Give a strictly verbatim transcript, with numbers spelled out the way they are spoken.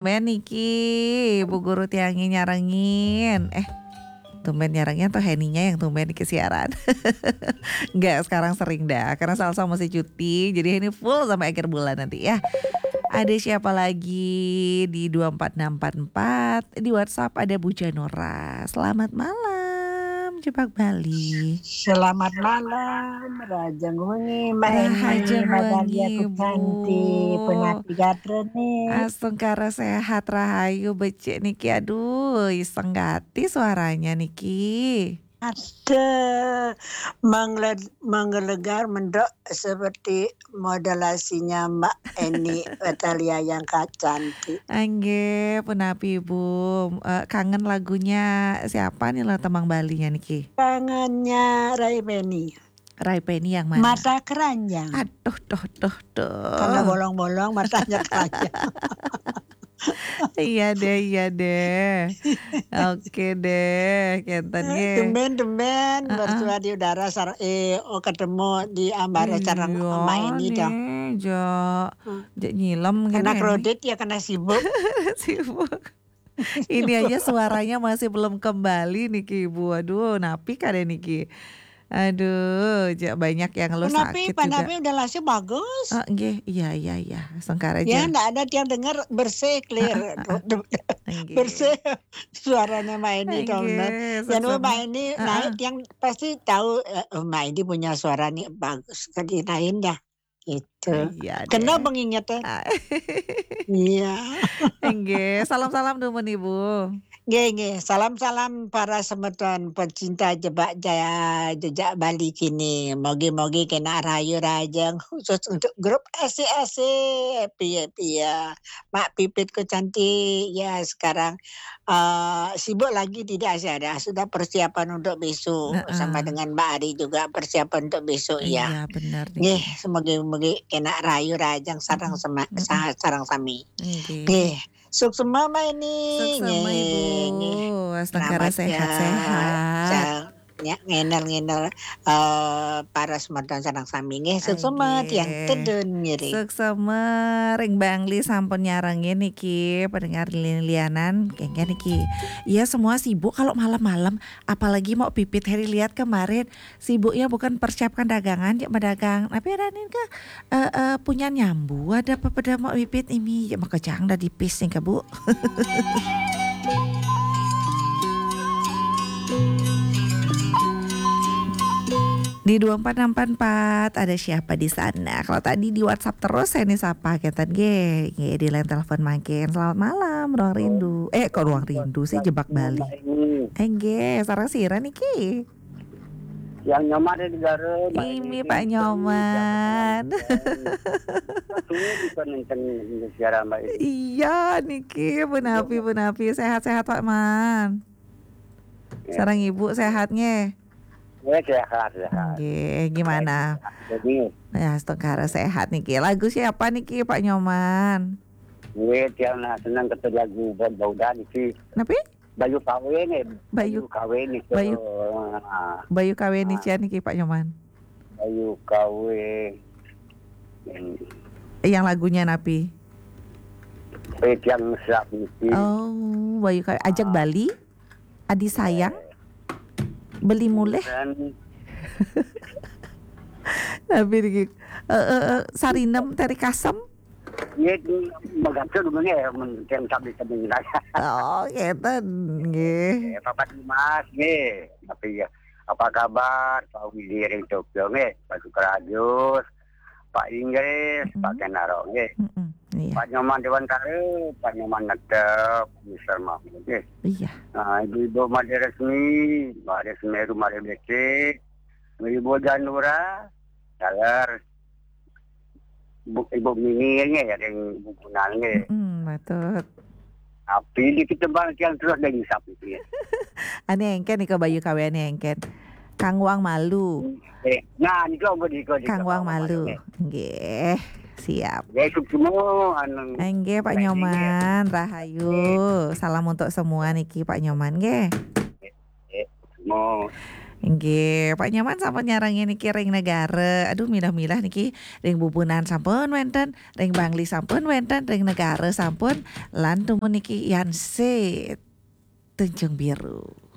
Tumben niki, Bu Guru tiangnya nyarengin. Eh, tumben nyarengin atau Heninya yang tumben niki siaran? Enggak, sekarang sering dah. Karena Salsa masih cuti, jadi ini full sampai akhir bulan nanti ya. Ada siapa lagi di dua empat enam empat empat? Di WhatsApp ada Bu Janora. Selamat malam, Jebak Bali. Selamat malam, Rahajeng wengi, Mbak Eni, Rahajeng Mbak Dahlia wengi, Bu. Kucanti, Penapi Gatra nih. Astungkara sehat, rahayu, becik niki. Aduh, iseng gati suaranya niki. Ada mengle-, menggelegar mendok seperti modulasinya Mbak Eni Natalia yang cantik. Nggih, punapi, Bu? Eh, kangen lagunya siapa nih lah tembang Balinya niki? Kangennya Rai Penny. Rai Penny yang mana? Mata Keranjang. Aduh, duh, duh, duh. Karena bolong-bolong matanya keranjang. Iya deh, iya deh. Oke deh, kenten Eh, nggih. Tumben-tumben Heeh. Bersuara di udara sar-, eh, oh, ketemu di ambara sareng Iya Mbak Eni dong. Nih, Jo. Hmm. Jek nyilem kena kene nih. Kredit ya, kena sibuk. Sibuk. Ini aja suaranya masih belum kembali niki, Ibu. Aduh, napi kade niki? Aduh, ja-, banyak yang ngeluh Panapi, sakit juga. Panapi udah lasih bagus. Ah, nggih, iya, iya, iya. Sengkara ya, aja. Ndak ada yang dengar bersih, clear. Ah, ah, ah. Nggih. Bersih suaranya Mbak Eni dong, nggih, benar. Yang sama. Mbak Eni ah, naik, ah. Yang pasti tahu, eh, oh, Mbak Eni punya suara nih bagus. Tadi lain dah. Gitu. Iya deh. Kena pengingetnya. Ah. Iya. Nggih, salam-salam dumun, Ibu. Nggih, nggih. Salam-salam para semeton pecinta jebak jaya jejak Bali kini. Mogi-mogi kena rayu rajeng khusus untuk grup S C S C. Piye-piye. Mak Pipitku cantik. Ya, sekarang eh, sibuk lagi tidak sih ada. Sudah persiapan untuk besok. Heeh. Sama dengan Mbak Ari juga persiapan untuk besok ya. Iya, benar nih. Nggih, semoga-moga kena rayu rajang sarang Mm-mm. Sama, mm-mm. Sa-, sarang sami. Nggih. Nggih. Suksema Mbak Eni. Suksema, nggih, Ibu. Nggih. Astungkara selamat ya. Sehat-sehat. Sa-, ya, ngenel-ngenel, eh, para semeton sareng sami nggih. Suksema nggih. Tiang tedun ngiring. Suksema ring Bangli sampun nyarengin niki, pendengar lian-lianan, kengken niki. Iya, semua sibuk kalau malam-malam, apalagi mau Pipit Heri lihat kemarin, sibuknya bukan persiapkan dagangan, ya, medagang. Tapi ada nih ke, eh, eh, punya nyambu, ada apa pada mau Pipit ini, ya, maka jangan dah dipis nih ke, Bu. Di dua empat enam empat empat, ada siapa di sana? Kalau tadi di WhatsApp terus, saya nih sapa, kenten nggih. Nggih, di line telepon mangkin. Selamat malam, Ruang Rindu. Eh, kok Ruang Rindu sih, Jebak Bali. Mbak Eni. Eh, nggih, sareng sira niki? Yang Nyoman di negara, Mbak Eni. Ini Pak Nyoman. Tuh, bisa nonton siaran, Mbak Eni. Iya, niki, punapi, punapi. Sehat-sehat, Pak Man. Ya. Sareng Ibu sehat nggih? Ya, sehat, sehat. Nggih, gimana? Baik, sehat. Jadi, ya, astungkara sehat niki. Lagu siapa niki, Pak Nyoman? Nggih, tiang nak seneng ketemu lagu Bauda niki. Napi? Bayu Kawe nih. Bayu, Bayu Kawe nih. Bayu, ah. Bayu Kawe nih, ah. Cian niki, Pak Nyoman. Bayu Kawe. Yang lagunya napi? Eh, tiang siap niki. Oh, Bayu Kawe. Ajak ah. Bali? Adi sayang, beli mulih. Dan tapi niki, eh, eh, eh, sarinem teri kasem. Iya, itu megaca dulu nih, men-, yang sambil-sambil nanya. Oh, keten, nggih. Eh, Papa Dimas, nggih. Tapi ya, apa kabar? Pak Widi ring Tokyo, nggih. Pak Sukrajus, Pak Inggris, Pak mm-mm. Kenaro, nggih. Mm-mm, iya. Pak Nyoman Dewantara, Pak Nyoman Netep, Mister Mahmud, nggih. Iya. Nah, Ibu-ibu Made Resmi, Made Semeru, Made Becik, Ibu Janura, Dalar, Bu, Ibu Mini, nggih, ya, ring Ibu Gunan, nggih. Mm-mm, betul. Tapi di kita bang yang terus dari sap itu ya. Ane engken nika Bayu Kawe ane engken. Kang Wang Malu. Eh, nah, niku ampun niku, niku. Kang Wang Malu. Nggih, siap. Ya, suksma, anu. Nggih, Pak Nyoman, rahayu. Nggih. Salam untuk semua niki, Pak Nyoman, nggih. Nggih, suksma. Nggih, Pak Nyoman sampun nyarengin niki ring negara. Aduh, milah-milah niki ring Bubunan sampun wénten, ring Bangli sampun wénten, ring negara sampun, lan tumun niki Yanse Tanjung Biru.